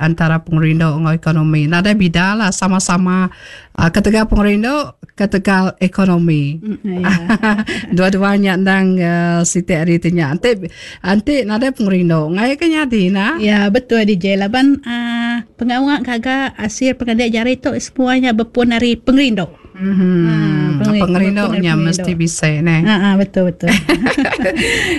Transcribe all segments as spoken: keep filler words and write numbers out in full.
Antara pengerindu enggau ekonomi nadai bida lah, sama-sama uh, ketegal pengerindu, ketegal ekonomi. Mm, ya. Dua-duanya endang uh, siti ari ti nya. Enti enti nadai pengerindu, ngai ke nyadi nah. Ya, betul D J, laban uh, pengawa gaga asil pengelandik jari tu semuanya berpun dari pengerindu. Hmm. Ah, pengerindu nya mesti bisa ne. Ah, ah, betul betul.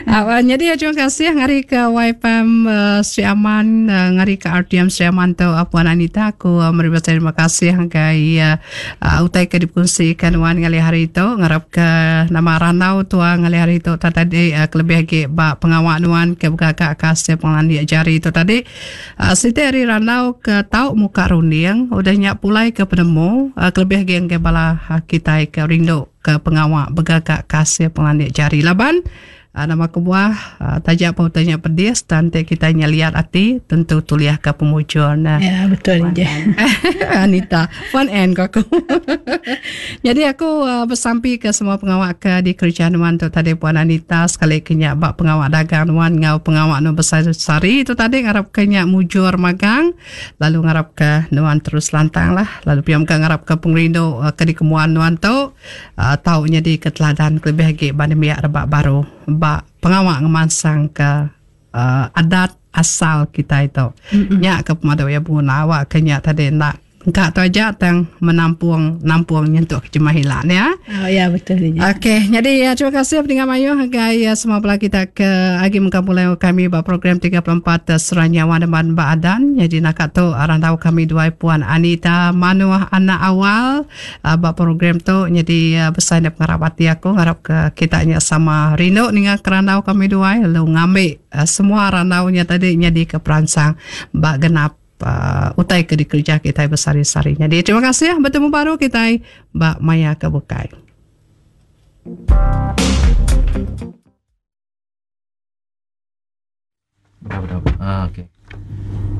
uh, jadi terima kasih ngari ke Y F M uh, Sri Aman, uh, ngari ke R T M Sri Aman tu, uh, Puan Anita, aku uh, meri terima kasih ngagai uh, uh, utai ke dikongsikan wan ngali hari itu. Ngarap ke nama ranau tua ngali hari itu tadi uh, kelebih lagi ba pengawak nuan ke begagak kasih pengelandik jari itu tadi, uh, siti hari ranau ke tau muka runding udah nyak pulai ke penemu, uh, kelebih lagi ke bala uh, kita ke rindu ke pengawak begagak kasih pengelandik jari, laban uh, nama kebuah uh, tajak pun tanya pedis dan kita nyeliat hati tentu tuliah ke pemujur nah. Ya, betul je. Anita, fun end ko aku. Jadi aku uh, bersampi ke semua pengawak ke di kerjaan nuan tu tadi, Puan Anita, sekali kenya bak pengawak dagang nuan ngau pengawak nu besar sari itu tadi, ngarap ke nyak mujur magang, lalu ngarap ke nuan terus lantang lah, lalu piam ke ngarap ke pengerindu uh, ke di kemuan nuan tu uh, tau jadi keteladan lebih lagi banding biak rebak baru bak pengawak ngemansang ke uh, adat asal kita itu. Mm-hmm. Nya ke pemadu ya buna awak ke nya tadi nak engkak tu aja tang menampung nampung nyentuk ke jemah hilang ya. Oh ya, betul je. Okey, jadi ya, terima kasih pendengar mayu hagai ya, semua bala kita ke agi mengkampulai kami ba program tiga puluh empat Seranyawan dan Baadan. Jadi nak tu orang tahu kami dua Puan Anita Manuah anak awal uh, ba program tu. Jadi uh, besar nak pengarap hati aku, harap ke kita nya sama rindu dengan kerandau kami dua, lalu ngambil uh, semua randaunya tadi jadi ke peransang ba genap uh, utai ke dikerja kita besar-besar. Jadi terima kasih, bertemu baru kita ba maya ke bukai. Berapa berapa? Ah, okey.